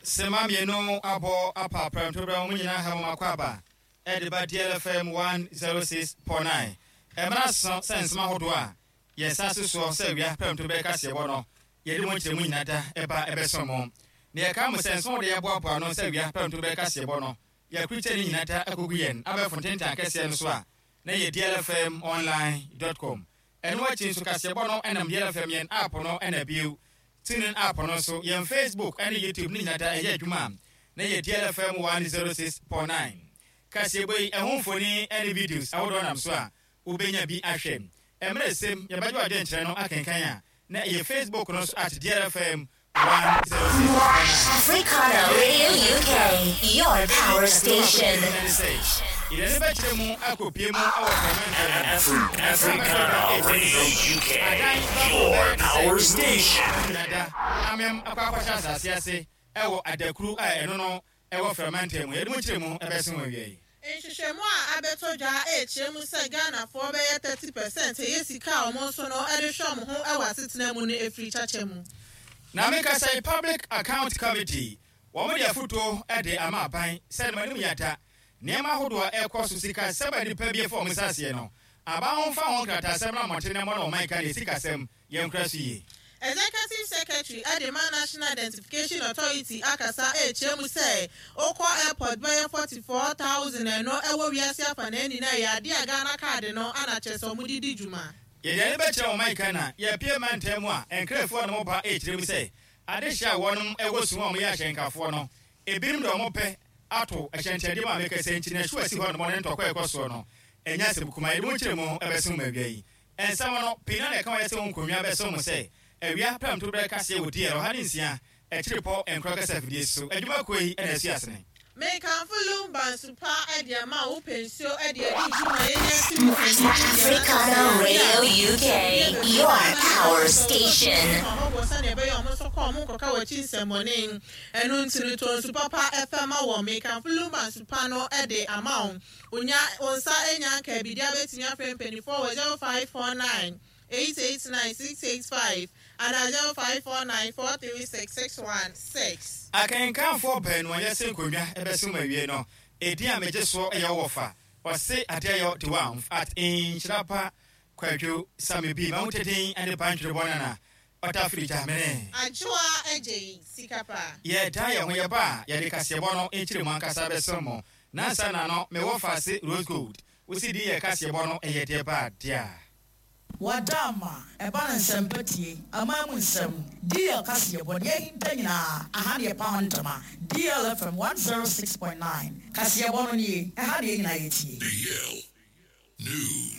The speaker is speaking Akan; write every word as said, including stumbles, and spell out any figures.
Sema mmienu abɔ apa prɛmtoberɛ mu nyinaa ha mo akɔ aba ɛde ba D L F M one oh six point nine. Ɛmmara so sɛ nsɛm ahodoɔ a yɛn nsa so soɔ sɛ awia prɛmtoberɛ kaseɛbɔ no, yɛde mo nkyerɛmu nyina da ɛba ɛbɛso mo. Na yɛka mo sɛ nsɛm wɔde yɛboaboa no sɛ awia prɛmtoberɛ kaseɛbɔ no, yɛakurikyɛ ne nyina da akɔgu yɛn abɛɛfo ntentan kɛseɛ no so a na yɛ D L F M online dot com. Ɛno akyi nso, kaseɛbɔ no ɛnam D L F M yɛn app no, ɛna bio TuneIn app no nso, yɛn Facebook ɛne YouTube ne nyina da ɛyɛ adwuma a na yɛ D L F M one oh six point nine. Kaseɛbɔ yi ɛho mfoni ɛne videos ahodoɔ nam so a wobɛnya bi ahwɛ. Mmerɛ sɛm yɛbɛgye wadwenkyerɛ no akenkan a na ɛyɛ Facebook no so at D L F M one oh six point nine. Africana Radio U K, your power station. Yɛde bɛkyerɛ mu akɔpie mu ɛwɔ Afri- Africana Radio U K, your power station. Dada amem akɔ akɔhyɛ asase ase ɛwɔ adakuru a ɛno no ɛwɔ Frɛmantam mu. Yɛde mu kyerɛ mu ɛbɛsen wɔ awia yi. Nhwehwɛmu a abɛtɔ dwa ɛrekyerɛ mu sɛ Ghanafoɔ bɛyɛ thirty percent ɛyɛ sika a wɔn nso no ɛde hwɛ wɔn ho ɛwɔ asetena mu no efiri kyakyɛ mu. Na mekasa yi, Public Account Committee wɔn de afotuo de ama aban sɛ no anim yɛada nneɛma ahodoɔ a ɛkɔ so, sika sɛm a nipa bi afa wɔn nsa aseɛ no, aban ho mfa ho nkrataasɛm no mmɔnten na mmɔ na ɔman ka ne sikasɛm yɛnkora so yie. Executive Secretary ɛde ma National Identification Authority akasa ɛrekyerɛ mu sɛ okɔ airport bɛyɛ forty four thousand ɛno ɛwɔ wiase afa na ɛni na ɛyɛ adeɛ a Ghana Card no ana kyerɛ sɛ ɔmo de di dwuma. Yɛde ani bɛkyerɛ ɔman ka na yɛpie mantam mu a nkrafoɔ no moba ɛkyerɛ mu sɛ adehyɛ a wɔnom ɛwɔ sum a wɔyɛ ahyɛnkafoɔ no, ebinom de ɔmo pɛ ato ahyɛnkyɛndeɛ mu a mekasa nti na ɛhyew asi hɔ nom ne ntɔkwa ɛkɔ soɔ no ɛnyɛ asɛm kuma. Yɛde mu nkyerɛ mu ɛbɛso mu awia yi. Ɛnsɛm no pii na na ɛka wɔyɛ sɛ wo nkonnwa bɛso mu sɛ awia pɛmto berɛ kaseɛ wɔ D L ɔha ne nsia akyiri pɔ nkorɔ kasa afidie so adwumakuo yi ɛna asi asene. Mekamfo Lumba nsupa ɛde ama wo pɛ nsuo ɛde adi dwuma yɛnya si mu. Africana Radio U K, your power station. Ɔhɔhoɔ sɛnea ɛbɛyɛ ɔmo nso kɔ ɔmo nkɔka wɔakyi nsɛmmɔne. Ɛno nti no, tɔ nsu papa ɛfɛ ma wɔ. Mekamfo Lumba nsupa no ɛde ama wo. Onya wo nsa enya nka biribi abɛtumi afrɛ mpanimfoɔ wɔ zero five four nine eight eight nine six eight five ana zero five four nine four three six six one six. Akenkanfoɔ baanu a yɛsɛ nkonnwa ɛbɛso mu awie no, ɛdin a megye soɔ ɛyɛ wɔ fa ɔse adeɛ de wa at Nhyirapa Kwadwo Same bi ma wotɛden ne bantwere bɔ nana ɔta firi gyamene. Adwoa Agye Sika Pa. Yɛda yɛn ho yɛba a yɛde kaseɛbɔ no nkyerɛ mu ankasa bɛsɛm mo. Nansa na no mewɔ faase Rose Gold wosi din yɛ kaseɛbɔ no ɛyɛ deɛ ba adeɛ a Wada ama ɛba ne nsɛmpa tie aman mu nsɛm D L kaseɛbɔ deɛ ahinta nyinaa aha ne yɛpa ho ntoma. D L F M one oh six point nine kaseɛbɔ no nie, ɛha ne yɛ nyinaa yɛtie. D L News.